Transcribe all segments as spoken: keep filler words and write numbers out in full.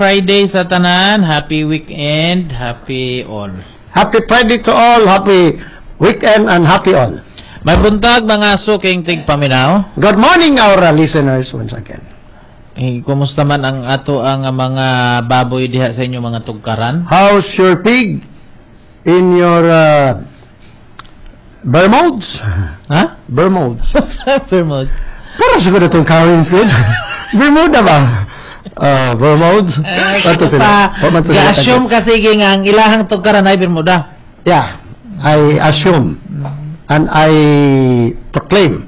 Friday sa tanan. Happy weekend. Happy all. Happy Friday to all, happy weekend and happy all. May buntag mga suking tigpaminaw. Good morning our uh, listeners once again. Eh, kumusta man ang ato ang mga baboy diha sa inyo mga tugkaran? How's your pig in your uh, Bermuds? Ha? Bermuds. Bermuds. Para siguro itong Karens good. Bermuda ba? Uh, Bermuds? Ato sila. Wa man to sila Ga-assume tagets. kasi nga ang ilahang tugkaran ay Bermuda. Yeah, I assume and I proclaim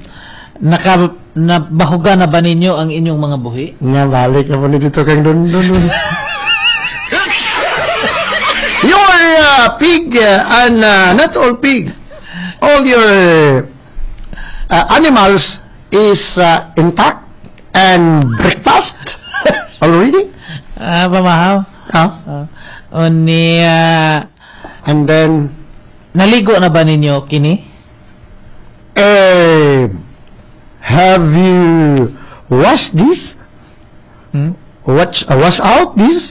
Naka nabahuga na ba ninyo ang inyong mga buhi? nga balik na po ni dito kang dun dun dun. Your uh, pig uh, and uh, not all pig, all your uh, animals is uh, intact and breakfast already. Ah, pamahaw. Huh? Uh, unya And then, naligo na ba ninyo kini? eh, have you washed this? Hmm? Watch, uh, wash out this?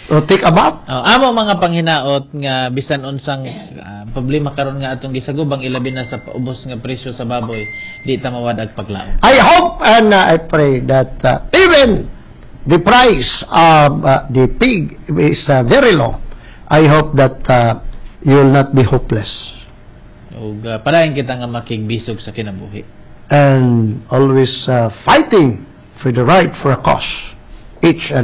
Or take a bath? Oh, amo mga panghinaot nga bisan unsang ah, problema karon nga atong gisagubang ilabi na sa paubos nga presyo sa baboy, di ta mawad-ag paglaom. I hope and uh, I pray that uh, even the price of uh, the pig is uh, very low. I hope that uh, you will not be hopeless Ug uh, padayon kita nga makigbisog sa kinabuhi. and always uh, fighting for the right for a cause each and